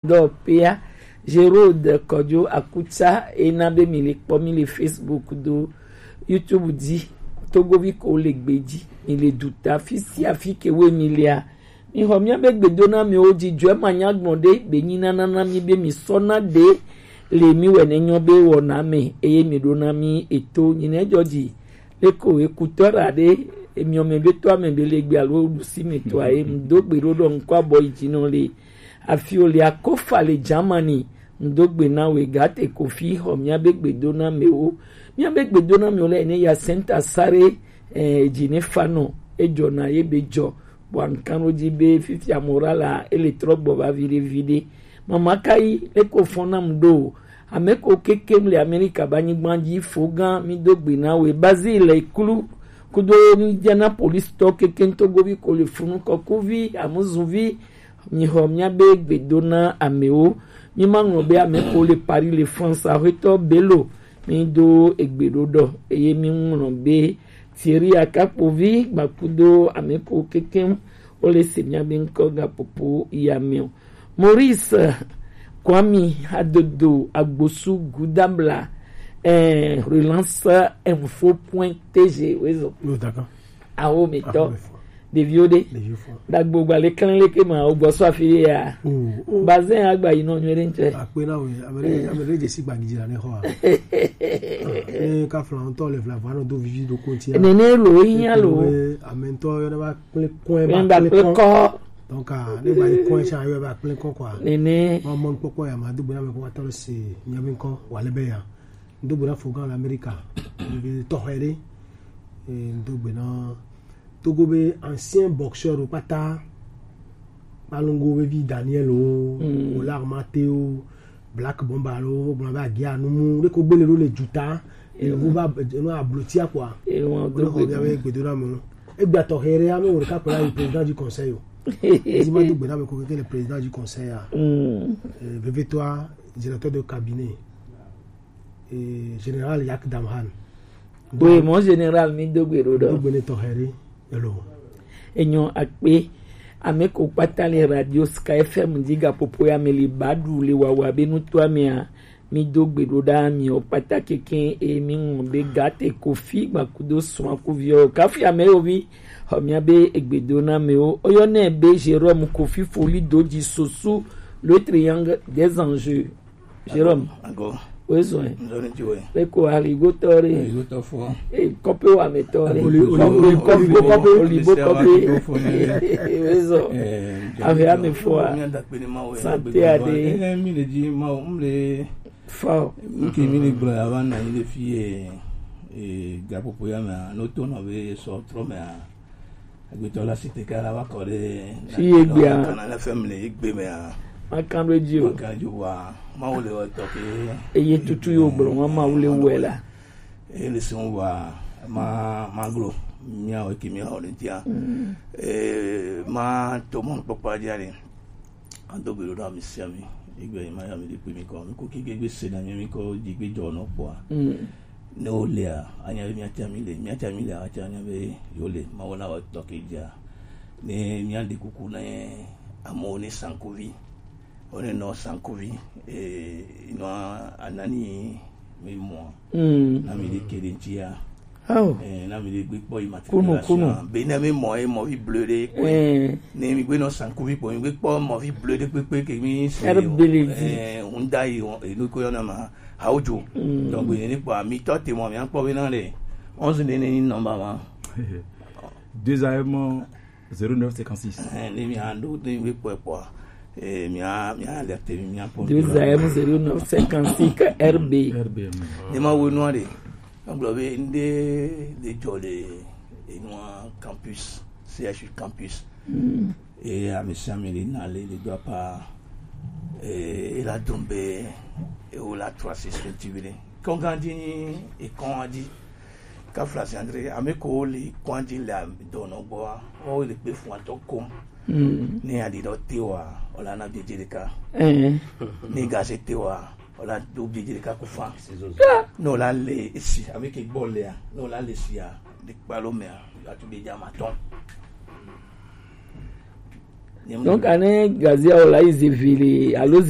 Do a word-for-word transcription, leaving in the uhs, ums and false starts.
Dɔ pea, Gerode Kɔdzo Akutsa, ena be mi le kpɔ mi le Facebook do YouTube dzi, Togovi ko le gbe dzi, mi le duta, fi sia fi ke wo mi lea, mi xɔ mia be gbedo na mi wo dzi, jɔ ma nya gbɔn de, be nyi na na na mi be mi sɔ na de, le mi wɛ ne nyɔ be wɔ na me, eye mi ɖo na mi eto, nyi ne jɔ dzi, le ko ekutɔ ra de, emiɔ me be to ame be le gbe alo ɖusi me to aye, mi do gbe ɖo ɖɔ ŋkɔ abɔ yi dzi nɔ le, Afi ole akofa le Germany, ŋdo gbe na we gate kofi xɔ mia be gbedo na mewo. Mia be gbedo na mewo le ne ya senta sare, eh, dzi ne fa nɔ, ejɔ na ye be jɔ, bɔ ankan wo dzi be fifia moral a, ele trɔ gbɔ va viɖe viɖe. Mama kai, eko fɔ nam ɖo, ame ko kekem le Amerika ba nyigba dzi fo gã, mi do gbe na we, Bazil le klu, kudo mi jana police tɔ kekem togovi ko le funu kɔkuvi, amuzuvi, Mi xɔ mia be gbedo na amewo. Mi ma ŋlɔ be ame ko le Paris le France, axwetɔ Bello, mi do egbe ɖo ɖɔ. Eye mi ŋlɔ be Thierry Akakpovi gbakudo ame ko kekem, wo le se mia be ŋkɔ gapopo ya me o. Maurice Kwame Adodo Agbosu Gudabla, eh, relance info point T G, oui, zo. Oh, d'accord. Awo mi tɔ. Awo mi fɔ. Ɖeviwo ɖe. Ɖeviwo fɔ. Dagbo gba le klɛn le ke ma o gbɔ sɔ afi ya. Oh, oh. Bazin agba yi nɔ nyuie ɖe ŋtsɛ. Akpe na wo, ame ɖe, ame ɖe dze si gbagi dzi la ne xɔ a. Ne ka fla ŋutɔ le fla va nɔ do vivi do konti a. Nene lo yi nya lo. Ame ŋutɔ yɔ ne va kple kɔn, ne va kple kɔn. Donc, ah, ne va yi kɔn sa yɔ va kple kɔn quoi. Nene. Ma mɔ kpɔkpɔ ya ma do gbe na me ko va tɔ se nya mi kɔ wa le be ya. Ŋdo gbe na Fogan le Amerika. Ebe tɔxɛ ɖe. Eh, ŋdo gbe na Togo be ancien boxeur wo kpata. Kpalongo be vi Daniel o, mm. Olar Mateo, Black Bomba lo, gblɔ be agia numu, ɖe ko gbele ɖo le juta, e, wo va, e, no ablotia quoi. E, wo do xɔ bia be gbedo na mo. Egbe tɔxɛ ɖe, ame wo ɖeka kpla yi président du conseil o. Ezi ma do gbe na me ko ke le président du conseil a. Mm. Eh, veve toi, directeur de cabinet. Eh, Général Yak Damhan. Oui, mon général, mi do gbe ɖo ɖɔ. Do gbe ne tɔxɛ ɖe, elo. Enyo akpe, ame ko kpata le radio Sky F M dzi gaƒoƒo ya me le ba ɖu le wawa be nutoa mea, mi do gbe ɖo ɖa mi o kpata keke e mi ŋu be gate kofi gbakudo srɔ̃ kuviɔ. Kafi ame yo vi, xɔ mia be egbe do na me o. Oyɔ ne be Jérôme Kofi Foli do dzi sosu le triangle des enjeux. Jérôme. Ago. Oezɔe. Nzɔni ti we. Eko aligo tɔ re. Aligo tɔ fɔ. E kɔpe wa me tɔ re. Oli, oli, oli, kɔpe, oli, kɔpe. Oli kɔpe. Oezɔ. Ahe ame fɔa. Santé ade. Eh, mi le di ma o, mi le. Fɔ. Nke mi le gblɔ ya va na yi le fi ye. Eh, gapopo ya me a, no to nɔ be sɔ trɔ me a. Agbetɔ la si te ka la va kɔ ɖe fi ye gbea. Kana le fɛn mi le egbe mea. Makan ɖo edzi o. Makan ɖo edzi o wa. Mawu le wɔ tɔ ke. Eye tutu yo gblɔ wa Mawu le wɔe la. Eye le sɔn wa ma ma glo. Mia wɔ ke mia wɔ le tia. Mm. Eh, ma to mɔ kpɔkpɔ dzi ale. Ado gbe ɖo ɖa mi sia mi. Egbe ma ya mi de kpe mi kɔ. Mi ko ki gbe se na mi mi kɔ dzi gbe jɔ nɔ kpɔa. Mm. Ne wo lea, anya be míatia mi le, míatia mi le, atia anya be yo le, Mawu la wɔ tɔ ke dzia. Ne míaɖe kuku ne amewo ne sankuvi, wo ne nɔ sankuvi, eh, nɔ anani mi mɔ, mm, na mi ɖe ke ɖe ŋutia. Oh. Eh, na mi ɖe gbe kpɔ yi matriculation. Kunu, kunu. Be ne mi mɔ ye mɔ vi bleu ɖe kpɔ. Eh. Ne mi gbe nɔ sankuvi kpɔ, mi gbe kpɔ mɔ vi bleu ɖe kpekpe ke mi se. Air Belize. Eh, Hyundai, eh, nu ko yɔ na ma. Awodzo. Mm. Donc, ne kpɔ amitɔ te mɔ, mia kpɔ be na le onze ne ne nɔmba ma. Deux A M zéro neuf cinquante-six. Eh, ne mia ɖo, ne mi kpɔ kpɔ. Eh, mia, mia alerte mi, mia kpɔ. Deux A M zéro neuf cinquante-six R B. R B, mm. Ne ma wo nua de. Egblɔ be ŋɖe le dzɔ le enua campus, C H U campus. Mm. Eye ame sia ame le na le, le do apa, eh, ela dɔn be ewo la trɔ asi srɔ̃ ti viɖe. Kɔn gã dzi nyi ekɔn dzi. Kafla si andre ame ko le kɔn dzi le dɔnɔ gbɔa, wo le kpe fun atɔ kom. Mm. Ne aɖi ɖɔ te wa, wala na biedze ɖeka. Eh. Ne gase te wa, wala do biedze ɖeka ku fa. Ne wala le esi, ame ke gbɔ lea, ne wala le sia, ɖe kpalo mea, atu biedze ama tɔn. Donc, ane gazia o la yi ze vili alo ze